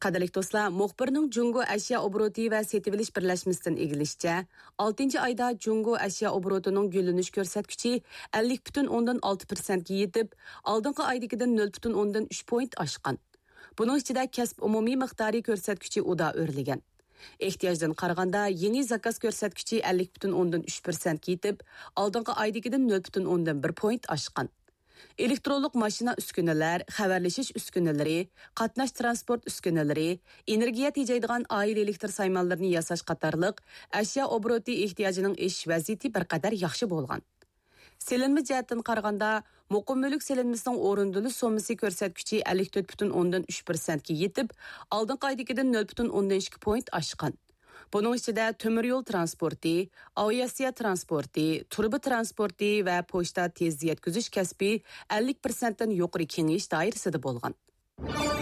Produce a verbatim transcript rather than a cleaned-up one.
قەدىرلىك دوستلار، مۇخبىرنىڭ جۇڭگو ئەشيا ئوبوروتى ۋە سېتىۋېلىش بىرلەشمىسىدىن ئىگىلىشىچە، ئالتىنچى ئايدا جۇڭگو ئەشيا ئوبوروتىنىڭ گۈللىنىش كۆرسەتكۈچى ئەللىك پۈتۈن ئوندىن ئالتە پىرسەنتكە يېتىپ، ئالدىنقى ئايدىكىدىن نۆل پۈتۈن ئوندىن ئۈچ پوينت ئاشقان. بۇنىڭ ئىچىدە كەسىپ ئومۇمىي مىقدارى كۆرسەتكۈچى ئۇدا ئۆرلىگەن. ئېھتىياجدىن قارىغاندا، يېڭى زاكاز كۆرسەتكۈچى ئەللىك پۈتۈن ئوندىن ئۈچ پىرسەنتكە يېتىپ، ئالدىنقى ئايدىكىدىن نۆل پۈتۈن ئوندىن بىر پوينت ئاشقان. ئېلېكترونلۇق ماشىنا ئۈسكۈنىلەر، خەۋەرلىشىش ئۈسكۈنىلىرى، قاتناش تىرانسپورت ئۈسكۈنىلىرى، ئېنېرگىيە تېجەيدىغان ئائىلە ئېلېكتر سايمانلىرىنى ياساش قاتارلىق ئەشيا ئوبوروتى ئېھتىياجىنىڭ ئېشىش ۋەزىيىتى بىر قەدەر ياخشى بولغان. سېلىنما جەھەتتىن قارىغاندا، مۇقىم مۈلۈك سېلىنمىسىنىڭ ئورۇندىلىش سوممىسى كۆرسەتكۈچى ئەللىك تۆت پۈتۈن ئوندىن ئۈچ پىرسەنتكە يېتىپ، ئالدىنقى ئايدىكىدىن نۆل پۈتۈن ئوندىن ئىككى پوينت ئاشقان. بۇنىڭ ئىچىدە تۆمۈر يول تىرانسپورتى، ئاۋىئاتسىيە تىرانسپورتى، تۇرۇبا تىرانسپورتى ۋە پوچتا تېز يەتكۈزۈش كەسپى ئەللىك پىرسەنتتىن يۇقىرى كېڭىيىش دائىرىسىدە بولغان.